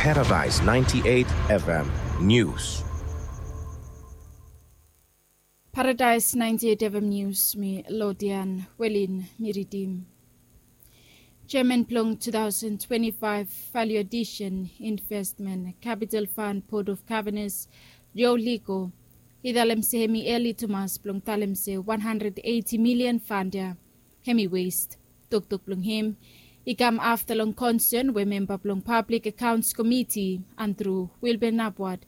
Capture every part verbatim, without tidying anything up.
Paradise ninety-eight F M News. Paradise ninety-eight F M News, mi Lodian Welin mi ridim. Chairman blong two thousand twenty-five Value Addition Investment Capital Fund Board of Governors, Joe Ligo, i talem se hemi eli tumas blong talem se one hundred eighty million fund ya hemi waste. Toktok blong hem i kam afta long concern we memba blong Public Accounts Committee, Andrew Wilbur Napwat,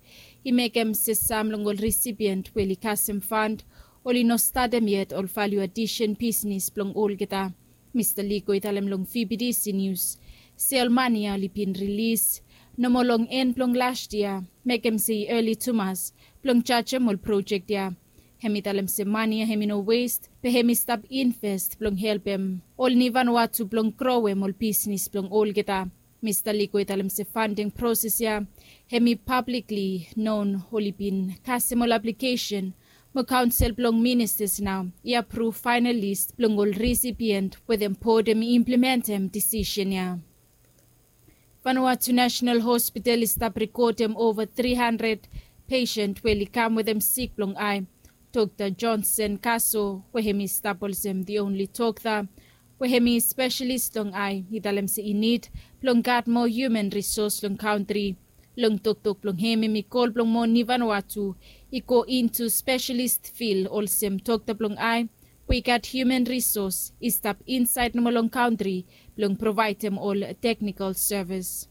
i mekem se sam long ol recipient we oli kasem fund oli no statem yet ol value addition bisnis blong olgeta. Mista Ligo i talem long V B D C News se ol mani ya oli bin rilis nomo long en blong last yia, mekem se i eli tumas blong jajem ol projek ya. Hemi talem se mani ya hemi no waste, be hemi stap invest blong helpem ol ni Vanuatu blong growem ol bisnis blong olgeta. Mista Ligo i talem se funding proses ya hemi publicly known, oli bin kasem ol aplikesen mo kaonsel blong ministas nao i apruv faenal list blong ol risipient we dem board hemi implementem disisen ya. Vanuatu National Hospital i stap rekodem ova tri handred pesen we oli kam wetem sik blong ae. Dokta Johnson Kaso, we hemi stap olsem the only dokta we hemi spesialis long ae, i talem se i nid blong gat moa human risos long kantri. Long toktok blong hem hemi kol blong moa ni Vanuatu i go intu spesialis fil olsem dokta blong ae we i gat human risos i stap insaed nomo long kantri blong provaedem ol teknikol sevis.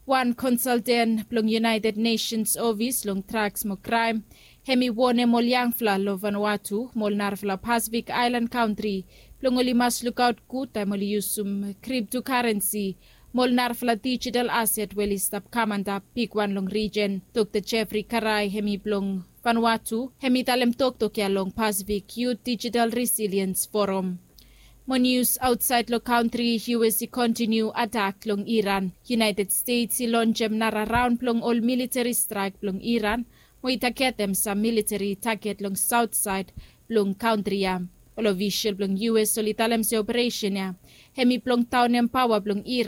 Wan konsalten blong United Nations ofis long drags mo kraem hemi wonem ol yangfala long Vanuatu mo ol narafala Pasifik aelan kantri blong oli mas lukaot gud taem oli yusum kriptokarensi mo ol narafala dijital aset we oli stap kam antap bigwan long rijen. Dokta Jeffrey Karai hemi blong Vanuatu hemi talem toktok ya long Pasifik Youth Digital Resilience Forum. Mo nius aotsaed long kantri, U S i kontiniu atak long Iran. United States i lonjem nara raon blong ol militeri straek blong Iran mo i tagetem sam militeri taget long saotsaed blong kantri ya. Ol ofisol blong U S oli talem se operesen ya hemi blong daonem paoa blong Iran